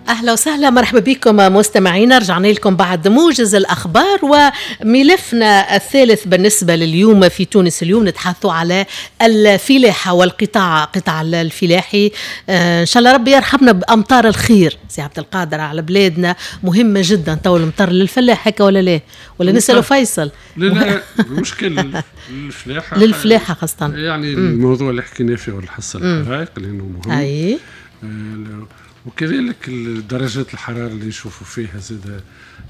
أهلا وسهلا، مرحبا بكم مستمعينا. رجعنا لكم بعد موجز الأخبار وملفنا الثالث بالنسبة لليوم في تونس اليوم. نتحدث على الفلاحة والقطاع، قطاع الفلاحي. إن شاء الله ربي يرحمنا بأمطار الخير سي عبد القادر على بلادنا، مهمة جدا تو المطر للفلاح هكا ولا لا؟ ولا نسأله فيصل؟ لا لا، المشكل للفلاحة، للفلاحة خاصة، يعني الموضوع اللي حكينا فيه الحصة الحرائق لأنه مهم. أي. وكذلك درجات الحرارة اللي نشوفوا فيها زاد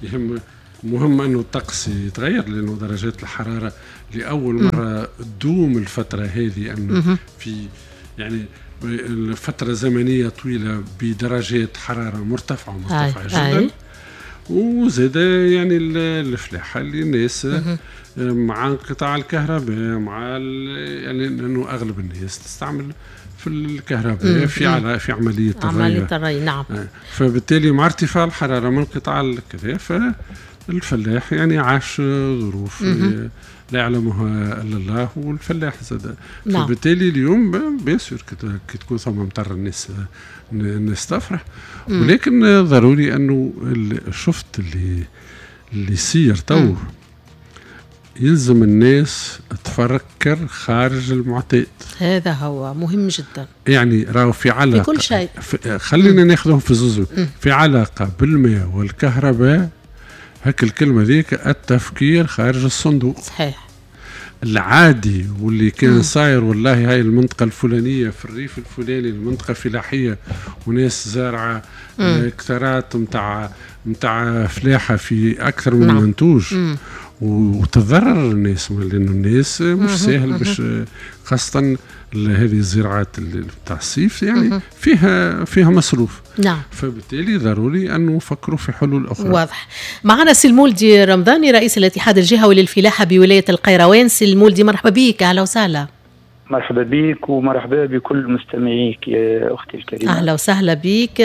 يهم، مهم أنه الطقس يتغير، لأنه درجات الحرارة لأول مرة تدوم الفترة هذه، أنه في يعني فترة زمنية طويلة بدرجات حرارة مرتفعة مرتفعة جدا. وزاد يعني الفلاحة اللي الناس مع انقطاع الكهرباء، مع يعني لأنه أغلب الناس تستعمل في الكهرباء في على في عملية الري. نعم. فبالتالي مع ارتفاع الحرارة من انقطاع الكذا، فالفلاح يعني عاش ظروف لا يعلمها الا الله، والفلاح زاد. نعم. فبالتالي اليوم bien sûr كي تكون ثم مطر الناس تفرح، ولكن ضروري انه شفت اللي يصير تو، يلزم الناس تفكر خارج المعتاد. هذا هو مهم جدا. يعني راهو في علاقة في كل شيء، خلينا ناخذهم في زوز، في علاقة بالماء والكهرباء، هك الكلمة ذيك التفكير خارج الصندوق. صحيح. العادي واللي كان صاير والله هاي المنطقة الفلانية في الريف الفلاني، المنطقة فلاحية وناس زارعة هكتارات متاع فلاحة في أكثر من منتوج، وتضرر الناس، لأنه الناس مش ساهل باش، خاصة هذه الزراعات بتاع الصيف يعني فيها مصروف. نعم. فبالتالي ضروري أن نفكروا في حلول أخرى. واضح. معنا سي المولدي رمضاني رئيس الاتحاد الجهوي للفلاحة بولاية القيروان. سي المولدي مرحبا بك، أهلا وسهلا. مرحبا بك ومرحبا بكل مستمعيك يا أختي الكريمة. أهلا وسهلا بك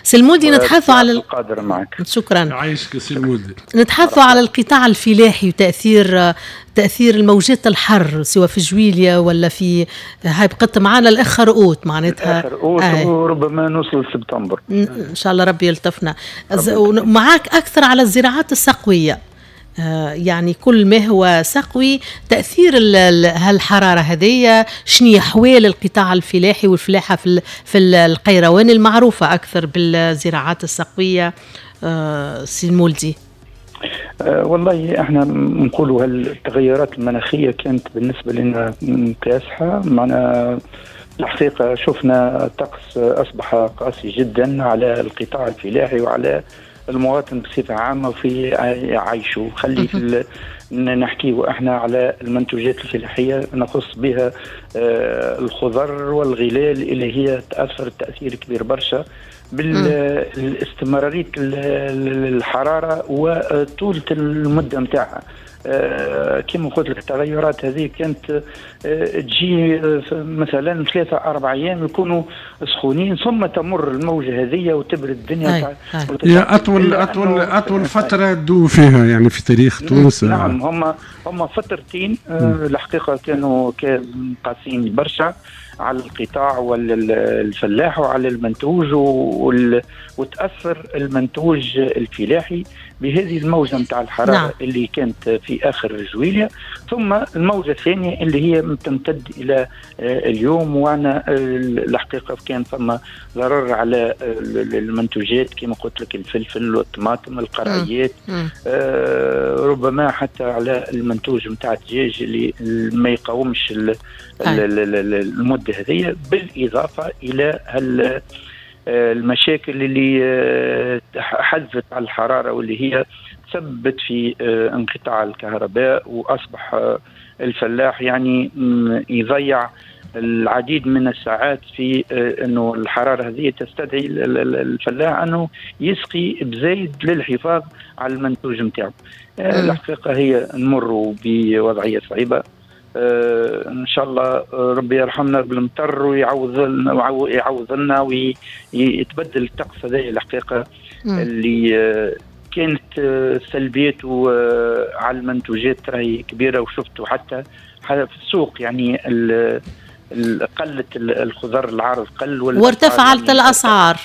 سي المولدي. نتحدث على القادر معك. شكرا. عايشك سي المولدي. نتحدث على القطاع الفلاحي وتأثير تأثير الموجات الحر سواء في جويليا ولا في هاي، بقت معنا الآخر أوت معناتها. الآخر أوت وربما نوصل سبتمبر. إن شاء الله ربي يلطفنا. معاك أكثر على الزراعات السقوية، يعني كل ما هو سقوي تأثير هالحرارة هذية، شنو أحوال القطاع الفلاحي والفلاحة في القيروان المعروفة أكثر بالزراعات السقوية سي المولدي؟ والله احنا نقولوا هالتغيرات المناخية كانت بالنسبة لنا كاسحة، معنا الحقيقة شفنا الطقس أصبح قاسي جدا على القطاع الفلاحي وعلى المواطن بصفة عامة في عيشه. خلي في نحكيه احنا على المنتوجات الفلاحية، نخص بها الخضر والغلال اللي هي تأثر تأثير كبير برشا بالاستمرارية الحرارة وطولة المدة متاعها. كما قلت لك التغيرات هذه كانت تجي مثلا 3-4 أيام يكونوا سخونين، ثم تمر الموجة هذه وتبرد الدنيا. هي أطول أطول أطول فترة تدوم فيها يعني في تاريخ تونس. نعم، هم فترتين الحقيقة كانوا قاسيين برشا على القطاع والفلاح وعلى المنتوج، وتأثر المنتوج الفلاحي بهذه الموجة متاع الحرارة. نعم. اللي كانت في آخر جويليا، ثم الموجة الثانية اللي هي تمتد إلى اليوم. وأنا الحقيقة كان ثم ضرر على المنتوجات كما قلت لك، الفلفل والطماطم، القرعيات، ربما حتى على المنتوج متاع الدجاج اللي ما يقاومش المدة هذه، بالإضافة إلى المشاكل اللي حدثت على الحرارة واللي هي تسببت في انقطاع الكهرباء، وأصبح الفلاح يعني يضيع العديد من الساعات في أنه الحرارة هذه تستدعي الفلاح أنه يسقي بزايد للحفاظ على المنتوج نتاعو. الحقيقة هي نمر بوضعية صعيبة. ان شاء الله ربي يرحمنا بالمطر ويعوض لنا ويتبدل الطقس هذا الحقيقة اللي كانت سلبيته على المنتوجات راهي كبيرة، وشفتوا حتى في السوق يعني قلت الخضر، العرض قل وارتفعت الاسعار.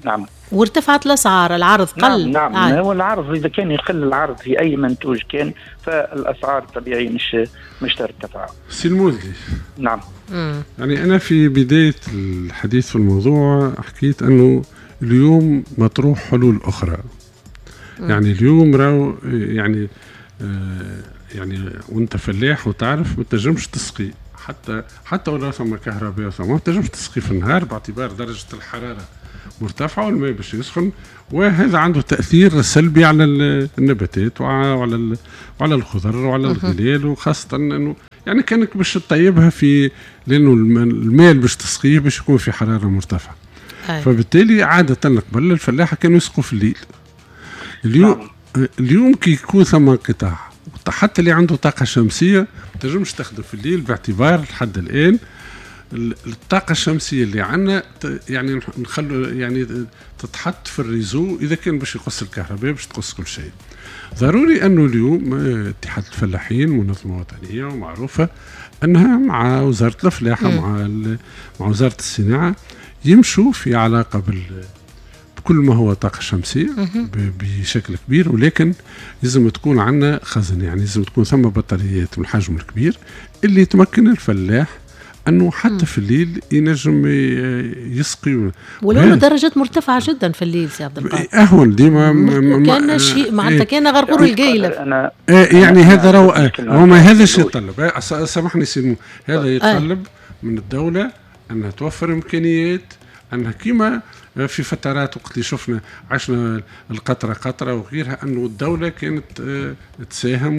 نعم، وارتفعت الأسعار، العرض قل. نعم نعم، هو العرض إذا كان يقل العرض في أي منتوج كان فالأسعار طبيعي مش ترتفع. سي المولدي. نعم. يعني أنا في بداية الحديث في الموضوع حكيت أنه اليوم مطروح حلول أخرى. يعني اليوم راهو يعني يعني وانت فلاح وتعرف ما تنجمش تسقي حتى ولا ثم كهرباء، ما تنجمش تسقي في النهار باعتبار درجة الحرارة مرتفعة والماء باش يسخن، وهذا عنده تأثير سلبي على النباتات وعلى الخضر وعلى الغلال، وخاصة انه يعني كانك باش تطيبها في، لانه الماء باش تسقيه باش يكون في حرارة مرتفعة. فبالتالي عادة قبل الفلاحة كانوا يسقوا في الليل. اليوم كي يكون ثم انقطاع، حتى اللي عنده طاقة شمسية ما تنجمش تخدم في الليل، باعتبار لحد الآن الطاقة الشمسية اللي عندنا يعني نخلو يعني تتحط في ال réseau، إذا كان باش يقص الكهرباء باش تقص كل شيء. ضروري أنه اليوم اتحاد الفلاحين منظمة وطنية ومعروفة أنها مع وزارة الفلاحة مع وزارة الصناعة يمشوا في علاقة بكل ما هو طاقة شمسية بشكل كبير، ولكن لازم تكون عندنا خزن، يعني لازم تكون ثم بطاريات من الحجم الكبير اللي تمكن الفلاح أنه حتى في الليل ينجم يسقي، ولو درجات مرتفعة جدا في الليل سي عبد القادر. أهون ديما كان شيء معناتها كان غرغور القايلة. يعني هذا هو ما هذا الشيء يتطلب، سامحني سي، هذا يتطلب من الدولة أنها توفر إمكانيات، أنها كما في فترات وقت اللي شفنا عشنا القطرة قطرة وغيرها، أنه الدولة كانت تساهم.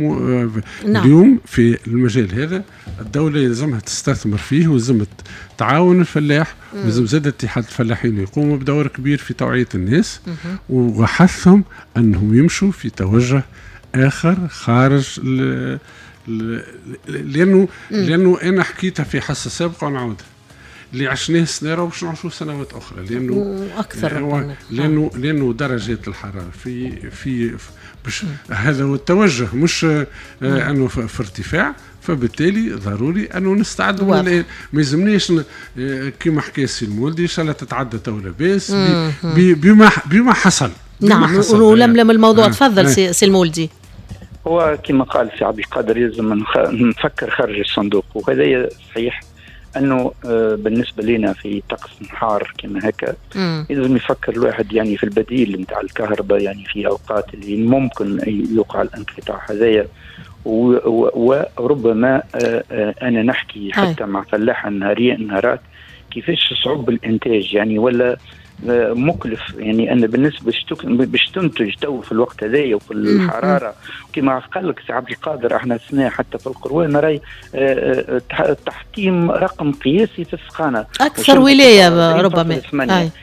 نعم. اليوم في المجال هذا الدولة يلزمها تستثمر فيه، ولازم تعاون الفلاح، ولازم زاد اتحاد الفلاحين يقوموا بدور كبير في توعية الناس وحثهم أنهم يمشوا في توجه آخر خارج لأنه أنا حكيتها في حصة سابقة ونعاودها، اللي عشناه السنة باش نعيشوه سنوات اخرى، لانه اكثر لانه درجات الحرارة في باش هذا هو التوجه، مش انه في ارتفاع، فبالتالي ضروري انه نستعد. ما يلزمناش كما حكى السي المولدي ان شاء الله تتعدى تو لاباس بما حصل. نعم، ولملم الموضوع. تفضل سي المولدي. هو كما قال سي عبد القادر يلزم نفكر خارج الصندوق، وهذا صحيح انه بالنسبة لنا في طقس حار كما هكا لازم يفكر الواحد يعني في البديل نتاع الكهرباء، يعني في اوقات اللي ممكن يوقع الانقطاع هذايا، وربما انا نحكي حتى مع فلاحة نهارات كيفاش صعوب الانتاج يعني ولا مكلف، يعني انا بالنسبة باش تنتج تو في الوقت هذايا وفي الحرارة كما قال لك سي عبد القادر، احنا السنة حتى في القروان راي تحطيم رقم قياسي في السخانه، اكثر ولاية ربما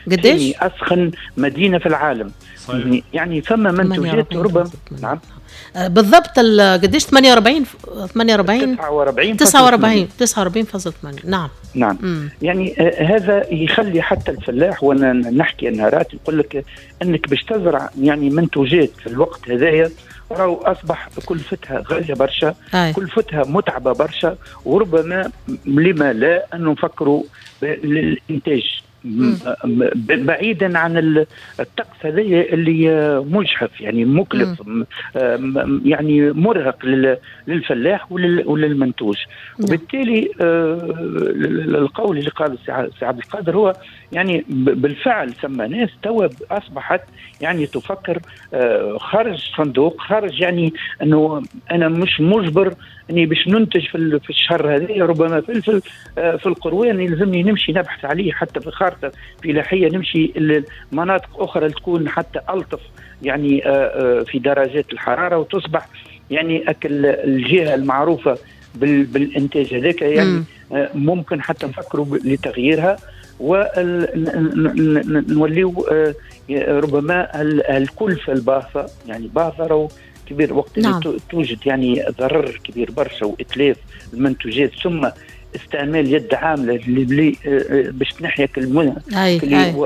قداش يعني اسخن مدينة في العالم. صحيح. يعني فما منتوجات ربما. نعم بالضبط، قداش 48 48 49 49.8. نعم نعم. يعني هذا يخلي حتى الفلاح، وانا نحكي نهارات يقول لك انك باش تزرع يعني منتوجات في الوقت هذايا راهو اصبح كلفتها غالية برشا، كلفتها متعبة برشا، وربما لما لا انه نفكروا للانتاج بعيدا عن الطقس هذا اللي مجحف، يعني مكلف، يعني مرهق للفلاح وللمنتوج. وبالتالي القول اللي قاله سي عبد القادر هو يعني بالفعل ثم ناس توا اصبحت يعني تفكر خارج الصندوق، خارج يعني انه انا مش مجبر اني باش ننتج في الشهر هذا ربما فلفل في القروان يلزمني نمشي نبحث عليه حتى في خارطة فلاحية، نمشي لمناطق اخرى تكون حتى الطف يعني في درجات الحرارة، وتصبح يعني اكل الجهة المعروفة بالانتاج هذاك يعني ممكن حتى نفكروا لتغييرها ونوليو ربما الكلفة الباهظه، يعني باهظه كبير وقت اللي توجد يعني ضرر كبير برشا واتلاف المنتوجات، ثم استعمال يد عامله اللي باش تنحي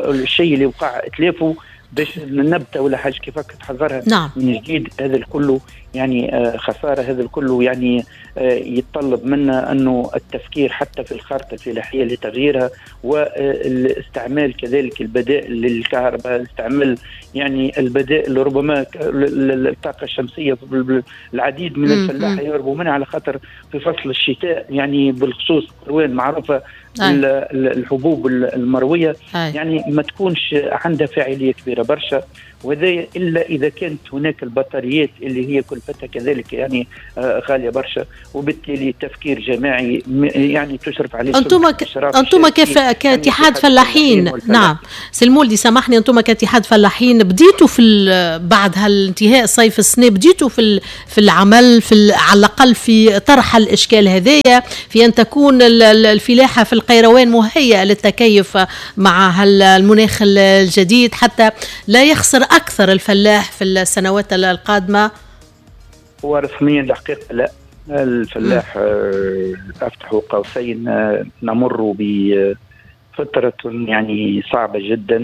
الشيء اللي وقع اتلافه. باش النبتة ولا حاجة كيفك تحضرها نعم. من جديد. هذا الكل يعني خسارة، هذا الكل يعني يتطلب منا انه التفكير حتى في الخارطة الفلاحية لتغييرها، والاستعمال كذلك البدائل للكهرباء، استعمال يعني البدائل ربما الطاقة الشمسية. العديد من الفلاحة يهربوا منها على خاطر في فصل الشتاء يعني بالخصوص القروان معروفة الحبوب المروية يعني ما تكونش عندها فاعلية كبيرة برشا، وهذا الا اذا كانت هناك البطاريات اللي هي كلفتها كذلك يعني غالية برشا، وبالتالي تفكير جماعي يعني تشرف عليه. انتم كيف كاتحاد يعني فلاحين؟ نعم سي المولدي سامحني، انتم كاتحاد فلاحين بديتوا في بعد هالانتهاء صيف السنة بديتوا في العمل في على الاقل في طرح الاشكال هذايا، في ان تكون الفلاحة في القيروان مهيئة للتكيف مع هالمناخ الجديد حتى لا يخسر أكثر الفلاح في السنوات القادمة؟ هو رسميا الحقيقة لا، الفلاح أفتح قوسين نمر بفترة يعني صعبة جدا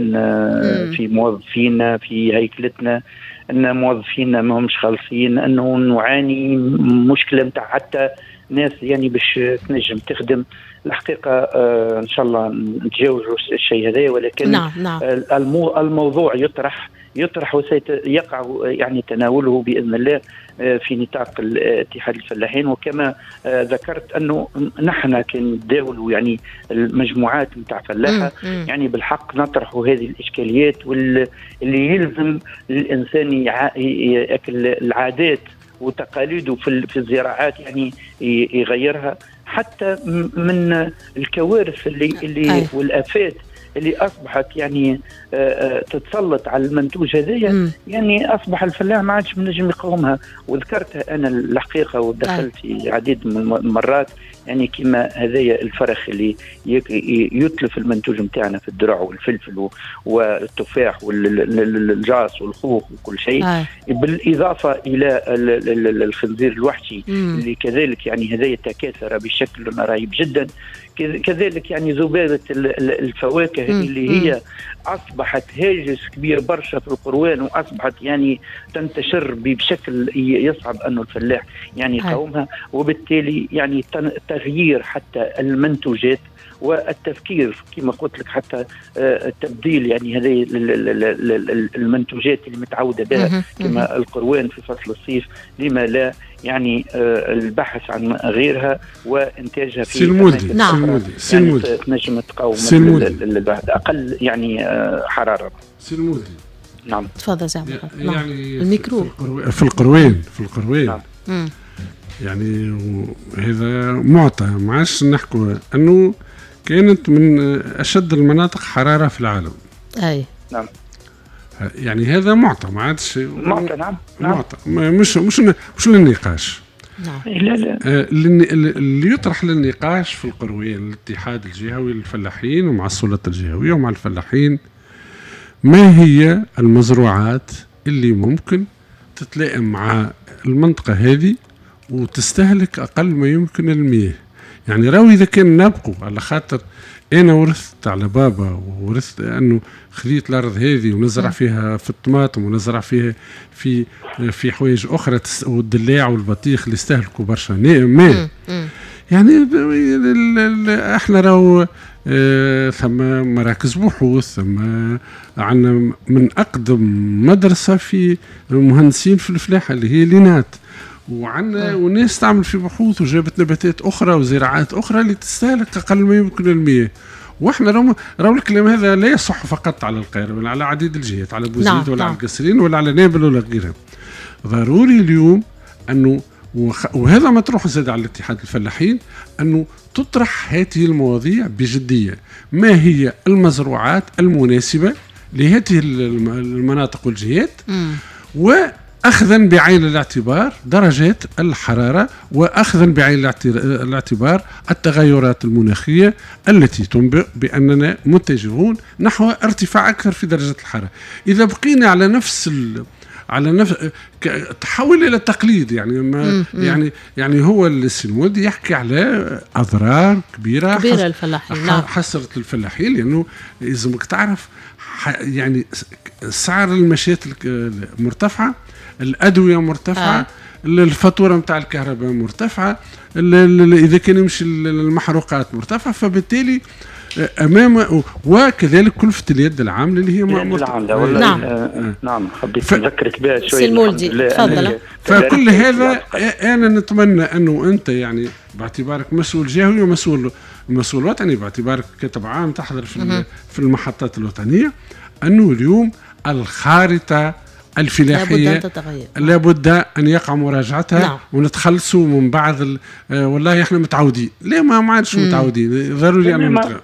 في موظفينا في هيكلتنا، أن موظفينا ما همش خالصين، أنه نعاني مشكلة متاع حتى ناس يعني باش تنجم تخدم. الحقيقة إن شاء الله نتجاوزوا الشيء هذا، ولكن نعم. نعم. الموضوع يطرح وسيقع يعني تناوله بإذن الله في نطاق اتحاد الفلاحين. وكما ذكرت أنه نحن كنداولوا يعني المجموعات نتاع فلاحة يعني بالحق نطرح هذه الإشكاليات واللي يلزم الإنسان يأكل العادات وتقاليده في الزراعات يعني يغيرها، حتى من الكوارث اللي والآفات اللي أصبحت يعني تتسلط على المنتوج هذايا، يعني أصبح الفلاح ما عادش منجم يقاومها. وذكرتها أنا الحقيقة ودخلت في عديد من المرات، يعني كما هذايا الفرخ اللي يتلف المنتوج نتاعنا في الدرع والفلفل والتفاح والجاس والخوخ وكل شيء، بالإضافة إلى الخنزير الوحشي اللي كذلك يعني هذايا تكاثر بشكل رهيب جدا. كذلك يعني ذبابة الفواكه اللي هي أصبحت هاجس كبير برشا في القروان، وأصبحت يعني تنتشر بشكل يصعب أنه الفلاح يعني يقاومها. وبالتالي يعني تغيير حتى المنتوجات والتفكير كما قلت لك، حتى التبديل يعني هذه المنتوجات اللي متعودة بها كما القروان في فصل الصيف، لما لا يعني البحث عن غيرها وإنتاجها في سلمودي. نعم. سلمودي. يعني تنجم تقاوم أقل يعني حرارة. سلمودي. نعم تفضل زعما. يعني الميكرو في القروان نعم. يعني هذا معطى ما عادش نحكوا أنه كانت من أشد المناطق حرارة في العالم. أي نعم. يعني هذا معطى ما عادش معطى. نعم. معطى مش مش مش للنقاش. نعم. لا لا. اللي يطرح للنقاش في القروية الاتحاد الجهوي للفلاحين ومع السلطة الجهوية ومع الفلاحين، ما هي المزروعات اللي ممكن تتلائم مع المنطقة هذه وتستهلك أقل ما يمكن المياه؟ يعني راهو إذا كان نبقوا على خاطر أنا ورثت على بابا وورثت أنه خذيت الأرض هذه ونزرع فيها في الطماطم ونزرع فيها في حوايج أخرى والدلاع والبطيخ اللي استهلكوا برشا ماء. يعني احنا راهو ثم مراكز بحوث، ثم عندنا من أقدم مدرسة في المهندسين في الفلاحة اللي هي لينات، وعندنا وناس تعمل في بحوث وجابت نباتات أخرى وزراعات أخرى اللي تستهلك أقل ما يمكن المياه. واحنا راهو الكلام هذا لا يصح فقط على القاهرة، بل على عديد الجهات، على بوزيد ولا على القصرين ولا على نابل ولا غيرها. ضروري اليوم أنه وهذا مطروح زاد على الاتحاد الفلاحين أنه تطرح هذه المواضيع بجدية. ما هي المزروعات المناسبة لهذه المناطق والجهات، وأخذا بعين الاعتبار درجات الحرارة، وأخذا بعين الاعتبار التغيرات المناخية التي تنبئ بأننا متجهون نحو ارتفاع أكثر في درجة الحرارة. إذا بقينا على نفس على نفس تحول الى التقليد يعني ما يعني هو السي المولدي يحكي على اضرار كبيرة للفلاحين. نعم. حصلت للفلاحين، لانه لازمك تعرف يعني سعر المشات مرتفعة، الادوية مرتفعة، الفاتورة نتاع الكهرباء مرتفعة، اذا كان يمشي المحروقات مرتفعة، فبالتالي امام وكذلك كلفه اليد العاملة اللي هي العاملة. نعم. نعم حبيت نذكرك بها شوية. المولدي تفضل. فكل هذا انا نتمنى انه انت يعني باعتبارك مسؤول جهوي ومسؤول مسؤول وطني، باعتبارك كاتب عام تحضر في المحطات الوطنية، انه اليوم الخارطة الفلاحية لابد ان يقع مراجعتها. نعم. ونتخلصوا من بعض والله احنا متعودين، لا ما عادش متعودين، ضروري ان نتغير.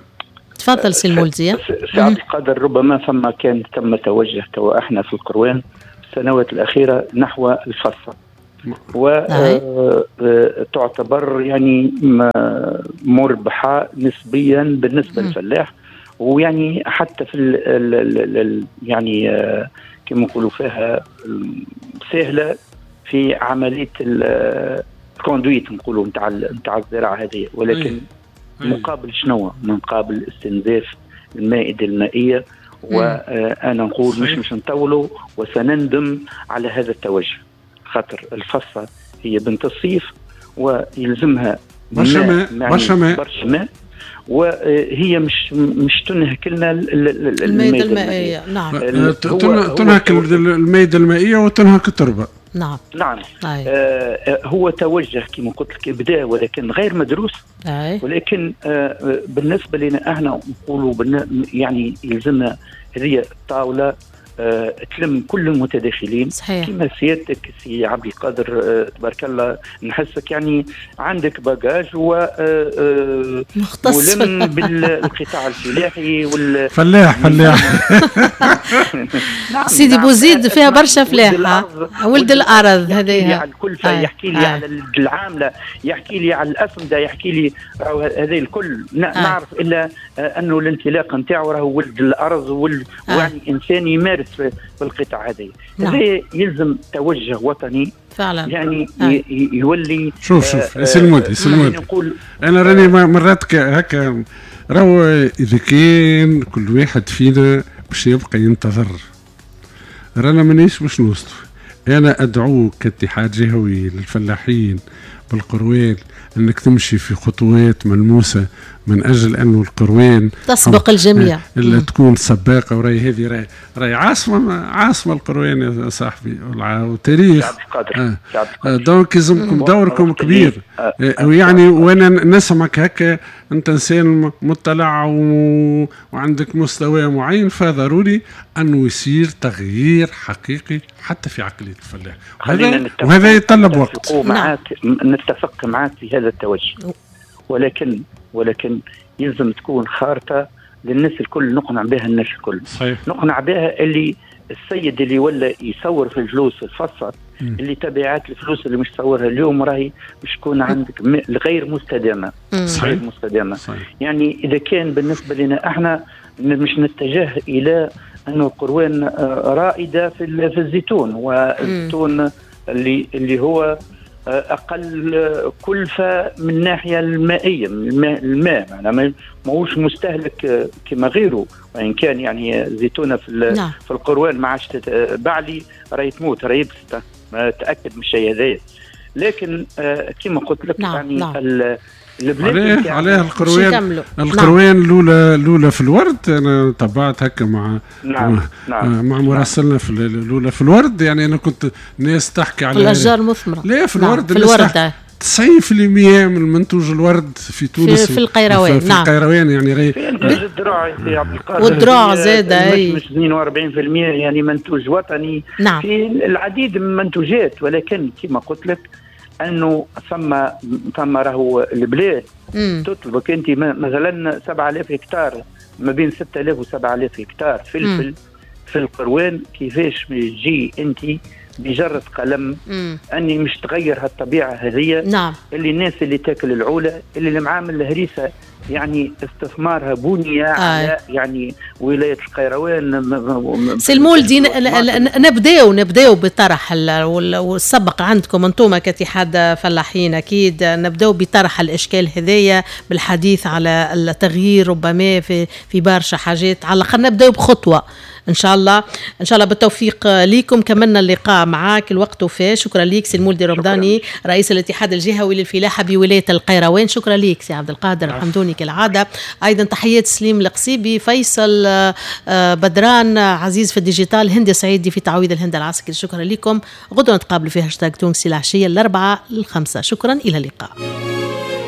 تفضل سي المولدي. سي عبد القادر، ربما ثم كان تم توجه تو احنا في القروان السنوات الاخيرة نحو الفصه، وتعتبر يعني مربحة نسبيا بالنسبة للفلاح، ويعني حتى في ال يعني كما نقولوا فيها سهلة في عملية ال conduite نقولوا نتاع الزراعة هذه، ولكن مقابل شنو؟ مقابل استنزاف المائدة المائية. وانا نقول مش نطولوا وسنندم على هذا التوجه، خاطر الفصه هي بنت الصيف ويلزمها برشا ماء، وهي مش تنهك لنا المائدة المائية. نعم. تنهك المائدة المائية وتنهك التربة. نعم. نعم. هو توجه كما قلت لك بدا، ولكن غير مدروس. ولكن بالنسبة لنا احنا نقولوا يعني يلزمنا هذه الطاولة تلم كل المتداخلين. صحيح. كما سيادتك سي عبد القادر تبارك الله، نحسك يعني عندك bagage و مختص ملم بالقطاع الفلاحي فلاح. نعم. سيدي بوزيد فيها برشا فلاحة، ولد الارض هذايا، يحكي لي على الكلفة، يحكي لي على العاملة، يحكي لي على الاسمده، يحكي لي هذا الكل. نعرف الا انه الانطلاق نتاعو راهو ولد الارض ويعني انسان يمارس في القطاع هذا. هذا يلزم توجه وطني فعلا، يعني يولي. شوف سي المولدي انا راني مرات هكا راهو اذا كان كل واحد فينا باش يبقى ينتظر رانا مانيش باش نوصلوا. انا ادعوك كاتحاد جهوي للفلاحين بالقروان انك تمشي في خطوات ملموسة من اجل انه القروان تسبق الجميع، اللي تكون سباقه. وراي هذه راي عاصمة القروان يا صاحبي، وتاريخ. donc لازمكم دوركم كبير. ويعني وانا نسمعك هكا انت انسان مطلع وعندك مستوى معين، فضروري انه يصير تغيير حقيقي حتى في عقلية الفلاح، وهذا يتطلب وقت. نتفق معك في هذا التوجه، ولكن يلزم تكون خارطة للناس الكل، نقنع بها الناس الكل. صحيح. نقنع بها اللي السيد اللي ولا يصور في الفلوس الفصة، اللي تبعات الفلوس اللي مش تصورها اليوم راهي مش تكون عندك غير مستدامة. صحيح. غير مستدامة. صحيح. يعني إذا كان بالنسبة لنا احنا مش نتجه إلى أنه القروان رائدة في الزيتون، والزيتون اللي هو أقل كلفة من الناحية المائية، الماء يعني ماهوش مستهلك كما غيره، وإن كان يعني زيتونة في القروان ما عادش بعلي راهي تموت، راهي يبست، تأكد من الشيء هذايا. لكن كما قلت لك. نعم. يعني نعم. البلاد عليه القروان الاولى في الورد. انا تبعت هكا مع نعم. نعم. مع مراسلنا في الاولى في الورد، يعني انا كنت ناس تحكي على الاشجار مثمرة. لا في الورد. نعم. في الورد 90% من منتوج الورد في تونس في القيروان. في القيروان يعني في الدراع في عبد القادر، والدراع زاد مش 42% يعني منتوج وطني. نعم. في العديد من المنتوجات، ولكن كما قلت لك انه ثم راهو البلاد تطلبك انت مثلا 7000 هكتار، ما بين 6000 و 7000 هكتار فلفل في القروان. كيفاش تجي انت بجرة قلم اني مش تغير هالطبيعه هذه. نعم. اللي الناس اللي تاكل العوله، اللي المعامل الهريسه يعني استثمارها بني على يعني ولاية القيروان. سي المولدي، نبداو بطرح والسبق عندكم انتم كاتحاد فلاحين، اكيد نبداو بطرح الاشكال هذايا بالحديث على التغيير ربما في برشا حاجات، على الاقل نبداو بخطوة ان شاء الله. ان شاء الله بالتوفيق ليكم. كملنا اللقاء معاك، الوقت وفى. شكرا ليك سي المولدي رمضاني رئيس الاتحاد الجهوي للفلاحه بولاية القيروان. شكرا ليك سي عبد القادر الحمدوني كالعادة. ايضا تحيات سليم القصيبي، فيصل بدران، عزيز في ال digital، هندي سعيدي في تعويض الهند العسكري. شكرا لكم. غدوه نتقابلوا في هاشتاج تونسي العشية 4 ل 5. شكرا، الى اللقاء.